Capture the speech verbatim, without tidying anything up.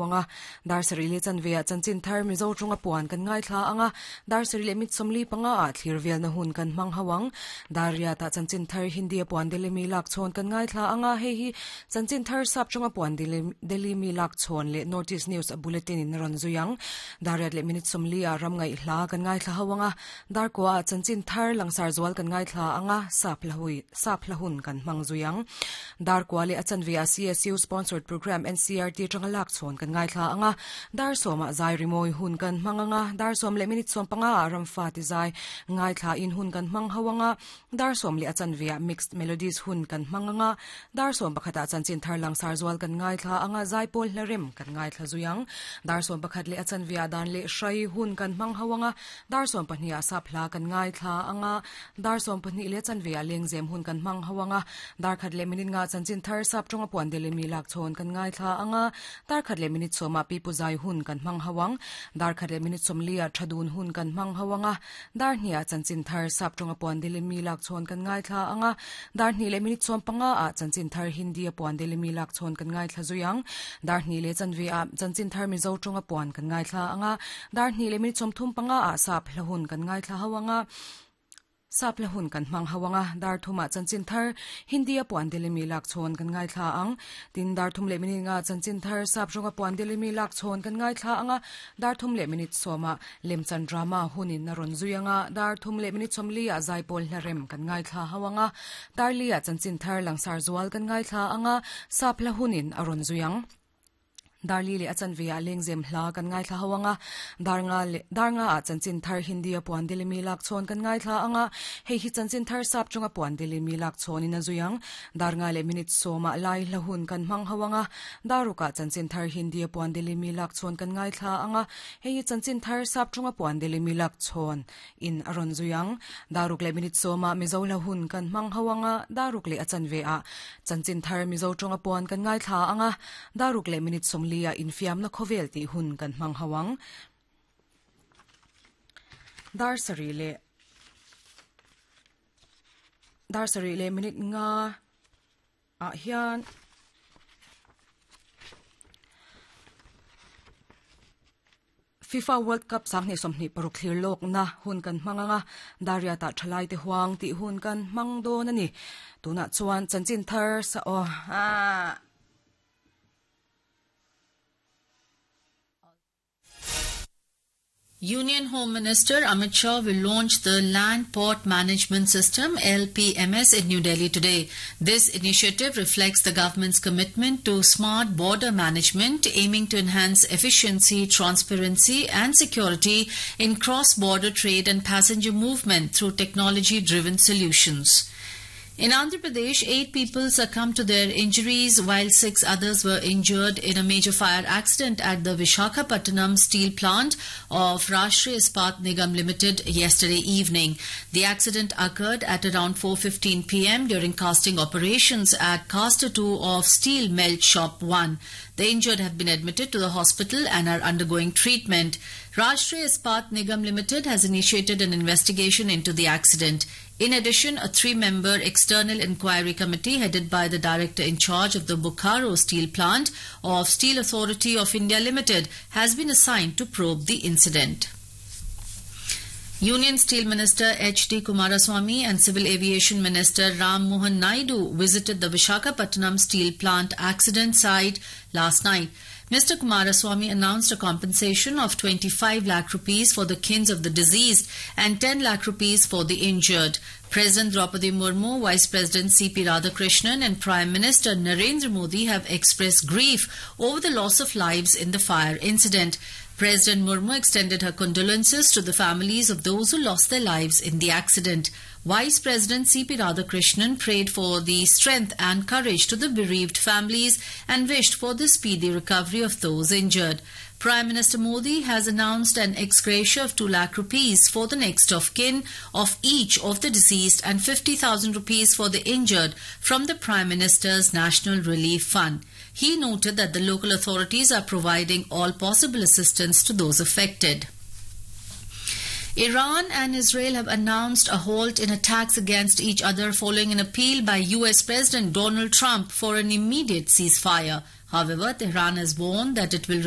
anga dar sarih leh chanve ah chanchin thar mizo tawnga puan kan ngaithla anga dar sarih leh mit sawmli panga ah thlir velna hun kan hmang ho ang dar riat ah chanchin thar hindi a puan deli mi lak chhawn kan ngaithla anga hei hi chanchin thar sap tawnga puan deli mi lak chhawn leh north east news a bulletin in a rawn zui ang dar riat leh minute sawmli ah ram ngaih hla kan ngaithla ho anga dar kua ah chanchin thar langsar zual kan ngaithla anga sap hla hui sap hla hun kan hmang zui ang dar kua leh a chanve ah C S U sponsored program N C R T atanga lak chhawn kan ngaithla anga dar sawma zai rimawi hun kan hmang anga dar sawm leh minute sawm panga ah ramfa ti zai ngaithla in hun kan hmang ho anga dar sawm leh a chanve ah mixed melodies hun kan hmang anga dar sawm pakhat ah chanchin thar langsar zual kan ngaithla anga zai pawl hla rem kan ngaithla zui ang dar sawm pakhat leh a chanve ah dan leh hrai hun kan hmang ho anga dar sawm pahnih ah sap hla kan ngaithla anga dar sawm pahnih leh chanve ah lengzem hun kan hmang ho anga dar khat leh minute nga chanchin thar sap tawnga puan deli mi lak chhawn kan ngaithla anga dar khat leh minute sawma pi pu zai hun kan hmang ho ang dar khat leh minute sawmli ah thadun hun kan hmang ho anga dar hnih ah chanchin thar sap tawnga puan deli mi lak chhawn kan ngaithla anga dar hnih leh minute sawm panga ah chanchin thar hindi a puan deli mi lak chhawn kan ngaithla zui ang dar hnih leh chanve ah chanchin thar mizo tawnga puan kan ngaithla anga dar hnih leh minute sawm thum panga ah sap hla hun kan ngaithla ho anga sap hla hun kan hmang ho anga dar thuma chanchin thar hindi a puan deli mi lak chhawn kan ngaithla ang tin dar thum leh minute nga chanchin thar sap tawnga puan deli mi lak chhawn kan ngaithla anga dar thum leh minute sawma lemchan drama hunin a rawn zui anga dar thum leh minute sawmli ah zai pawl hla rem kan ngaithla ho anga dar li ah chanchin thar langsar zual kan ngaithla anga sap hla hunin a rawn zui ang darli leh a chanve ah lengzem hla kan ngaithla ho anga dar nga leh dar nga ah chanchin thar hindi a puan deli mi lak chhawn kan ngaithla anga hei hi chanchin thar sap tawnga puan deli mi lak chhawn in a zui ang dar nga leh minute sawma lai hla hun kan hmang ho anga dar ruk ah chanchin thar hindi a puan deli mi lak chhawn kan ngaithla anga hei hi chanchin thar sap tawnga puan deli mi lak chhawn in a rawn zui ang dar ruk leh minute sawma mizo hla hun kan hmang ho anga dar ruk leh a chanve ah chanchin thar mizo tawnga puan kan ngaithla anga dar ruk leh minute sawmli a infiam na khawvel tih hun kan hmang ho ang dar sarih leh dar sarih leh minute nga ah hian FIFA World Cup sanghnih sawmhnih paruk thlir lawk na hun kan hmang anga dariat ah thalai te huang tih hun kan hmang dawn ani tunah chuan chanchin thar sa aw ah Union Home Minister Amit Shah will launch the Land Port Management System L P M S in New Delhi today. This initiative reflects the government's commitment to smart border management, aiming to enhance efficiency, transparency and security in cross-border trade and passenger movement through technology-driven solutions. In Andhra Pradesh, eight people succumbed to their injuries while six others were injured in a major fire accident at the Vishakhapatnam steel plant of Rashtriya Ispat Nigam Limited yesterday evening. The accident occurred at around four fifteen p m during casting operations at Caster two of Steel Melt Shop one. The injured have been admitted to the hospital and are undergoing treatment. Rashtriya Ispat Nigam Limited has initiated an investigation into the accident. In addition, a three-member external inquiry committee headed by the director in charge of the Bokaro Steel Plant of Steel Authority of India Limited has been assigned to probe the incident. Union Steel Minister H D Kumaraswamy and Civil Aviation Minister Ram Mohan Naidu visited the Vishakhapatnam Steel Plant accident site last night. Mister Kumaraswamy announced a compensation of twenty-five lakh rupees for the kins of the deceased and ten lakh rupees for the injured. President Draupadi Murmu, Vice President C P Radhakrishnan and Prime Minister Narendra Modi have expressed grief over the loss of lives in the fire incident. President Murmu extended her condolences to the families of those who lost their lives in the accident. Vice President C P Radhakrishnan prayed for the strength and courage to the bereaved families and wished for the speedy recovery of those injured. Prime Minister Modi has announced an ex gratia of two lakh rupees for the next of kin of each of the deceased and fifty thousand rupees for the injured from the Prime Minister's National Relief Fund. He noted that the local authorities are providing all possible assistance to those affected. Iran and Israel have announced a halt in attacks against each other following an appeal by U S President Donald Trump for an immediate ceasefire. However, Tehran has warned that it will